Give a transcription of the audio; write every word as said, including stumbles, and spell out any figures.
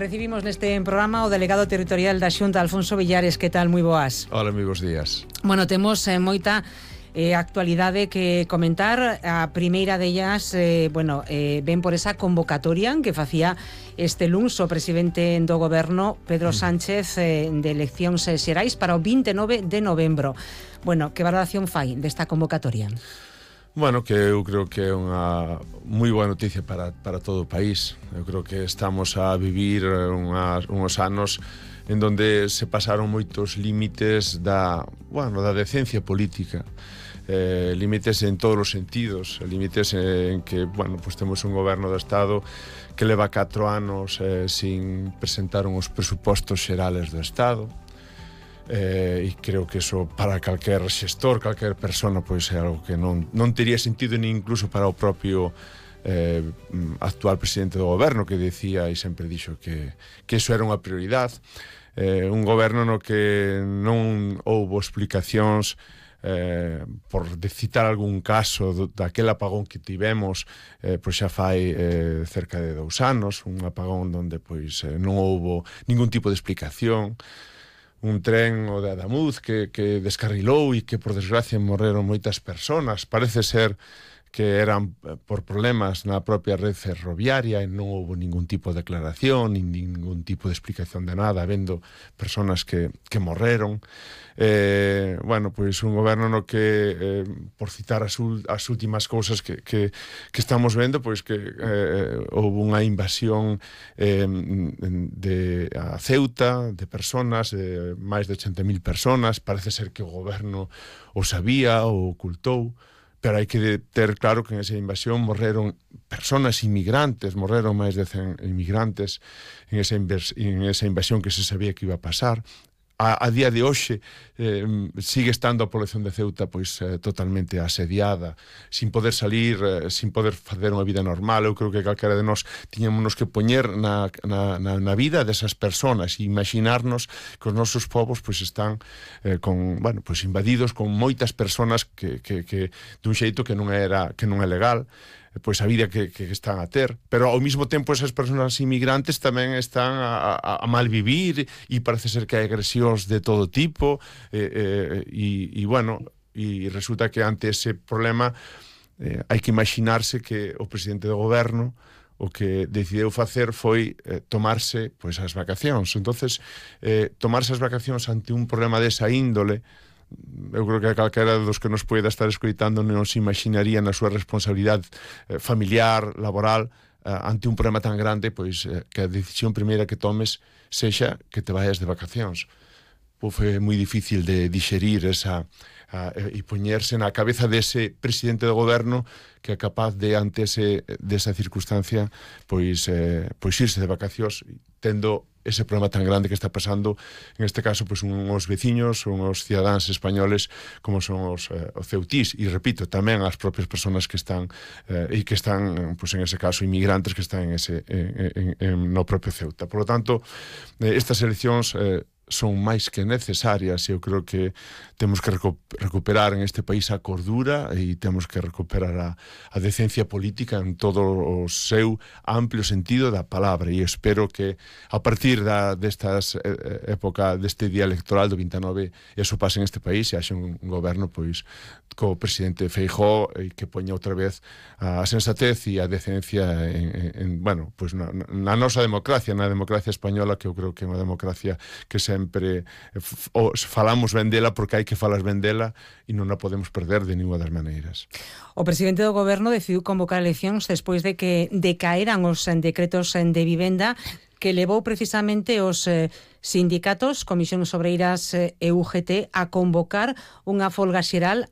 recibimos neste programa o delegado territorial da Xunta, Alfonso Villares. Que tal? Moi boas. Hola, moi bons días. Bueno, temos eh, moita eh, actualidade que comentar. A primeira dellas, eh, bueno, eh, ven por esa convocatoria que facía este luns o presidente do goberno, Pedro Sánchez, eh, de eleccións eh, xerais para o vinte e nove de novembro. Bueno, que valoración fai desta convocatoria? Bueno, que eu creo que é unha moi boa noticia para, para todo o país. Eu creo que estamos a vivir unhas, unhos anos en donde se pasaron moitos límites da, bueno, da decencia política. Eh, límites en todos os sentidos, límites en que, bueno, pues temos un goberno do Estado que leva catro anos eh, sin presentar uns presupostos xerales do Estado. Eh, e creo que eso para calquer xestor, calquer persona, pois é algo que non, non tería sentido ni incluso para o propio eh, actual presidente do goberno, que decía e sempre dixo que, que eso era unha prioridade. Eh, un goberno no que non houbo explicacións eh, por de citar algún caso do, daquel apagón que tivemos eh, pois xa fai eh, cerca de dous anos, un apagón onde pois eh, non houbo ningún tipo de explicación. Un tren, o de Adamuz, que, que descarrilou e que, por desgracia, morreron moitas personas. Parece ser que eran por problemas na propia red ferroviaria e non houve ningún tipo de declaración, nin ningún tipo de explicación de nada, habendo personas que, que morreron. Eh, bueno, pois un goberno no que, eh, por citar as, as últimas cousas que, que, que estamos vendo, pois que eh, houve unha invasión eh, de a Ceuta, de personas, de máis de ochenta mil personas. Parece ser que o goberno o sabía, o ocultou, pero hai que ter claro que en esa invasión morreron personas inmigrantes, morreron máis de cen inmigrantes en esa, en esa invasión que se sabía que iba a pasar. A, a día de hoxe eh, sigue estando a población de Ceuta pois eh, totalmente asediada, sin poder salir, eh, sin poder facer unha vida normal. Eu creo que calquera de nós tiñamos que poñer na, na, na, na vida desas personas e imaginarnos que os nosos povos pois están eh, con, bueno, pois invadidos con moitas personas que, que, que dun xeito que non era que non é legal, pois a vida que, que están a ter, pero ao mesmo tempo esas persoas inmigrantes tamén están a, a, a malvivir e parece ser que hai agresións de todo tipo e, eh, e, e bueno, e resulta que ante ese problema eh, hai que imaginarse que o presidente do goberno o que decideu facer foi eh, tomarse pois as vacacións. Entonces, eh, tomarse as vacacións ante un problema desa índole, eu creo que calquera dos que nos poida estar escoitando non se imaginaría na súa responsabilidade eh, familiar, laboral, eh, ante un problema tan grande, pois eh, que a decisión primeira que tomes sexa que te vayas de vacacións. Pois foi moi difícil de digerir esa a, e poñerse na cabeza dese presidente do goberno que é capaz de, ante ese, desa circunstancia, pois, eh, pois irse de vacacións tendo ese problema tan grande que está pasando, en este caso, pues, uns veciños, uns cidadáns españoles como son os, eh, os ceutís, e repito, tamén as propias persoas que están eh, e que están, pues, en ese caso, inmigrantes que están en ese, en, en, en, no propio Ceuta. Por lo tanto, eh, estas eleccións eh, son máis que necesarias e eu creo que temos que recu recuperar en este país a cordura e temos que recuperar a, a decencia política en todo o seu amplio sentido da palabra, e espero que a partir da, destas eh, época deste día electoral do vinte e nove eso pase en este país e haxe un, un goberno pois co presidente Feijóo e que poña outra vez a sensatez e a decencia en, en, en bueno, pois na, na nosa democracia, na democracia española, que eu creo que é unha democracia que sempre falamos ben dela porque hai que falar ben dela e non a podemos perder de ninguna das maneiras. O presidente do goberno decidiu convocar eleccións despois de que decaeran os decretos de vivenda que levou precisamente os eh, sindicatos, Comisións Obreiras e U G T a convocar unha folga xeral